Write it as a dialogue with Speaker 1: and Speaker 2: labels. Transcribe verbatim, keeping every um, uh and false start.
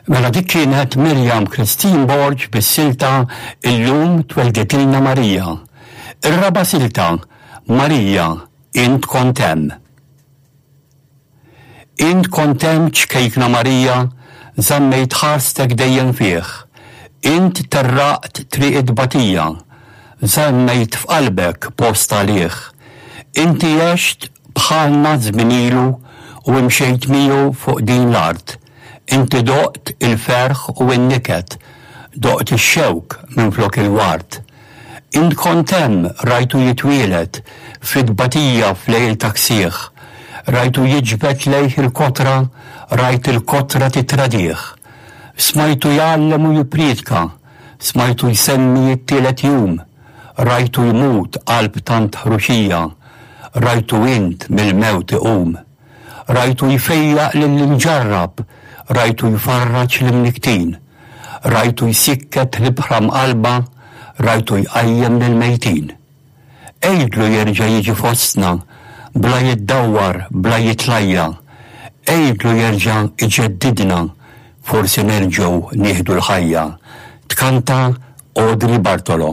Speaker 1: Mela dik kienet Miriam Christine Borg bis-silta Illum Twelditilna Marija. Ir-raba' silta, Marija, Int Kont Hemm. Int kont hemm ċkejkna Marija, żammejt ħarstek dejjem fih. Int terraqt triq it-tbatija, żammejt f'qalbek post għalih. Inti għext bħalna żmien ilu u imxejt miegħu fuq din l-art. Inti doqt il-ferħ u n-niket, doqt ix-xewk minflok il-ward. Int kont hemm rajtu jitwieled fit-tbatija f'lejl ta' ksieħ. Rajtu jiġbed lejh il-kotra, rajt il-kotra titradih. Smajtu jgħallem u jippriedka, smajtu jsemmi t-tielet jum. Rajtu jmut qalb tant ħruxija, rajtu int mill-mewt iqum. Rajtu jfejjaq lill-imġarrab, rajtu jfarraġ l-imnikktin. Rajtu jsikket l-ibħra mqallba, rajtu jqajjem lill-mejtin. Għidlu jerġa' jiġi fostna, bla jiddawwar, bla jitlajja. Għidlu jerġa' iġeddidna, forsi nerġgħu nieħdu l-ħajja. Tkanta Audrey Bartolo.